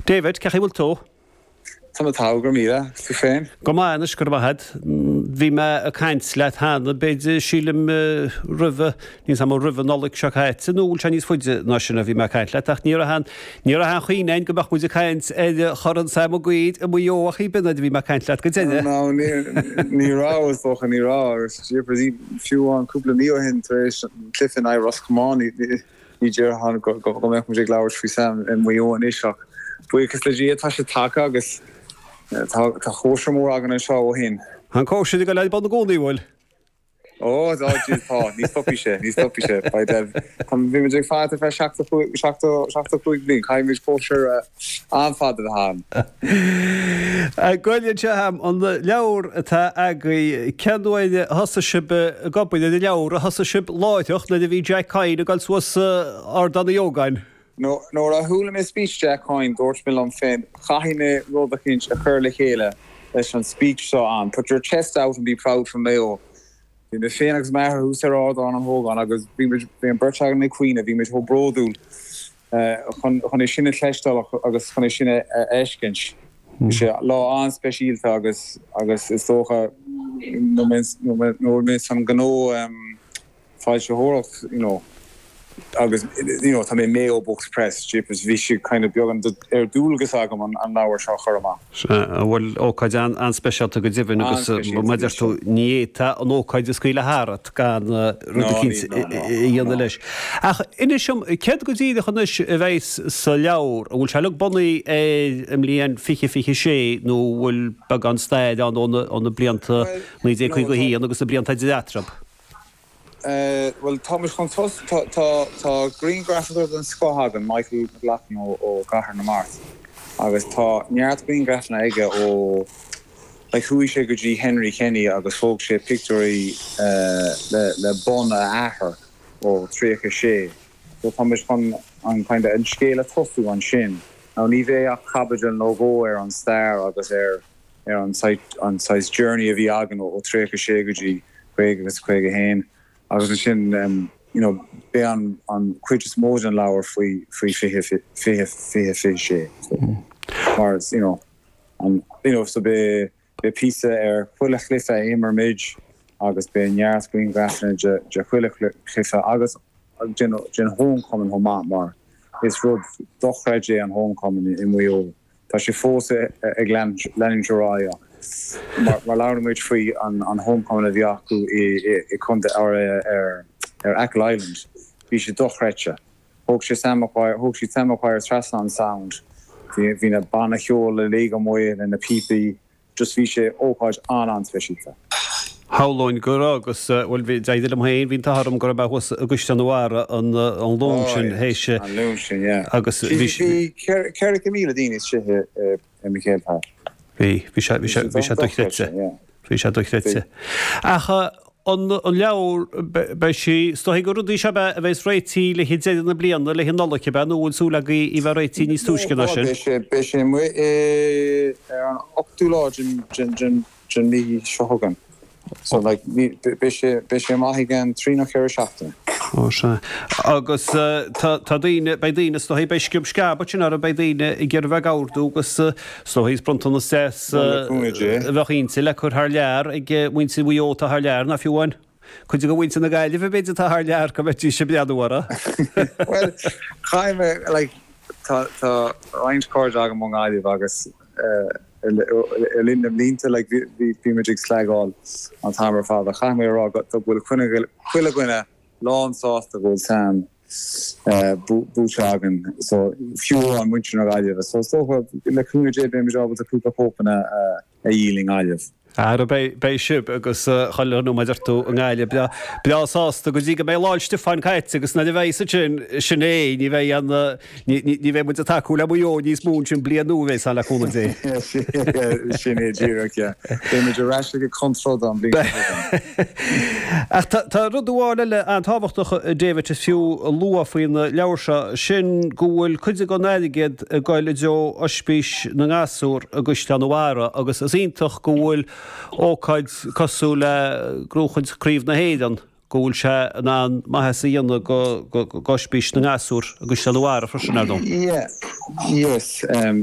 David, cén chaoi a bhfuil tú? Tá mé togha, go raibh míle. Agus tú féin? Go maith anois, go raibh maith agat. Bhí mé ag caint leat cheana, b'fhéidir, sílim, roimhe, níl 's a'm an roimh an Nollaig seo caite nó bhfuil sé níos faide ná sin a bhí mé ag caint leat, ach ní raibh aon, ní raibh aon chuimhne a'inn go mbeadh muid ag caint ar Chorn Sam Maguire i Maigh Eo ach b'in nuair a bhí mé ag caint leat go deireadh. No, ní, ní raibh, is dócha, ní raibh. Agus jeepers, fiú amháin cúpla mí ó shin tar éis an cluiche in aghaidh Ros Comáin, ní, Ní déarfainn go mbeadh muid ag labhairt faoi Sam i Maigh Eo anois ach buíochas le Dia tá sé tagtha agus tá cóisir mór againn anseo ó shin. Tá an cóisir ag dul ar bun i gcónaí, an bhfuil? Ó, tá, tá, ní stopfaidh sé, ní stopfaidh sé. Beidh, tá, bhí muid ag fanacht ar feadh 75 bliain, caithfidh muid cóisir an-fhada a bheith ann. Gabh i leith anseo a'm, an leabhar atá agaibh, cén uair a thosaigh sibh ag obair ar an leabhar? Ar thosaigh sibh láithreach nuair a bhí Jack Coyne ag dul suas Ardán Uí Ógáin? Nuair a chuala mé speech Jack Coyne dúirt mé liom féin caithfidh mé rud eicínt a chur le chéile leis an speech seo an put your chest out and be proud from Mayo. Bhí mé féin agus m'athair thuas ar Ardán an Hógáin agus bhí muid, bhí an bheirt againn ag caoineadh, bhí muid chomh bródúil. chun é sin a chloisteáil agus chun é sin a fheiscint. Bhí sé lá an-speisialta agus agus is dócha nuair mé san gnó foilsitheoireacht you know agus you know tá mé Mayo Books Press, jeepers bhí sé kind of beagán ar dualgas agam an leabhar seo a chur amach. Sea, bhuel ócáid an-speisialta go deimhin agus mar a deir tú ní fhéadfá an ócáid a scaoileadh tharat gan rud eicínt a dhéanamh leis. Ach inis dom, céard go díreach anois a bheas sa leabhar? An bhfuil sé uilig bunaithe ar an mbliain 2026 nó an bhfuil beagán stair ann ó na blianta 1951 agus na blianta idir eatarthu? Bhuel, tá muid chun tos, tá, tá, tá grianghrafadóir den scoth againn, Michael McLaughlin ó, ó gCathair na Mart, agus tá neart grianghrafanna aige ó, like, chuaigh sé go dtí Henry Kenny agus thóg sé pictiúirí le, le bonn a athar ó 36. So tá muid chun an kind of, an scéal a tosú ansin. Now ní bheidh ach caibidil nó dhó ar an stair agus ar, ar an saghas journey a bhí againn ó 36 go dtí 50 agus 51 agus ansin you know beidh an an cuid is mó den leabhar faoi faoi 20 20 20 26 so mar you know an you know so beidh beidh píosa ar chuile chluiche a imir muid agus beidh neart grianghrafanna de de chuile chluiche agus den den homecoming chomh maith mar is rud dochreidte é an homecoming i Maigh Eo. Tá sé fós ag leanúint ar aghaidh ach mar labhair muid faoi an homecoming a bhí acu i contae ar ar Achill Island, bhí sé dochreidte. Thóg sé Sam Maguire, thóg siad Sam Maguire trasna an Sound, bhí na banna cheoil uilig amuigh le na píopaí, Just bhí sé ócáid an-an-speisialta. Shamhlóinn go raibh agus, bhuel, bhí, d'éirigh liom féin, bhí an t-ádh orm go raibh mé thuas i gCaisleán an Bharraigh an Luan sin théis. An Luan sin, yeah. Agus bhí. Bhí 400,000 daoine istigh i MacHale Park. Bhí, bhí sé, bhí sé, bhí sé dochreidte. Bhí sé dochreidte. Ach an leabhar, beidh sí, is dóigh gur rudaí seo a bheas réitithe le haghaidh deireadh na bliana, le haghaidh Nollaig, ab ea, nó bhfuil súil agaibh í bheith réitithe níos túisce ná sin? Beidh sé, beidh sé amuigh ar an ochtú lá den, den, den, den mhí seo chugainn. So like, ní, beidh sé, beidh sé amach i gceann trí nó ceithre seachtaine. Ó sea. Agus tá, tá daoine, beidh daoine, is dóigh, beidh sciob sceab ansin orthu, beidh daoine ag iarraidh bheith ag ordú agus is dóigh is bronntanas deas a bheadh inti le cur thar lear ag muintir Mhaigh Eo atá thar lear, ná fiú amháin cuid de mhuintir na Gaillimhe b'fhéidir atá thar lear go mbeidís ag breathnú orthu. Bhuel, caithfidh mé, like, tá, tá roinnt cairde agam ón nGaillimh agus le linn na mblianta, like, bhí, bhí muid ag slagáil an t-am ar fad ach caithfidh mé a rá go bhfuil chuile dhuine lán sásta go bhfuil Sam buaite againn so fiú amháin muintir na Gaillimhe. So is dócha le cúnamh Dé beimid ábalta cúpla cóipeanna a dhíol i nGaillimh. Ara beidh, beidh sibh agus chuile dhuine mar a deir tú i nGaillimh breá, breá sásta go dtí go mbeidh Lá 'le Stiofáin caite agus nuair a bheidh ansin, sin é, ní bheidh aon, Ní bheidh muid ag tacú le Maigh Eo níos mó ansin bliain nua a bheas ann le cúnamh Dé. Sin é díreach, yeah. Beidh muid ar ais ag cur troda an bhliain seo chugainn. Ach tá rud amháin eile an-tábhachtach, David, is fiú a lua faoin leabhar seo, sin go bhfuil cuid den airgead ag goil i dtreo Oispís na nGasúr i gCaisleán an Bharraigh agus is iontach go bhfuil ócáid cosúil le gnóchaint Craobh na hÉireann, go bhfuil sé in ann maitheas a dhéanamh go Oispís na nGasúr i gCaisleán an Bharraigh freisin, ar ndóigh. Yeah, yes.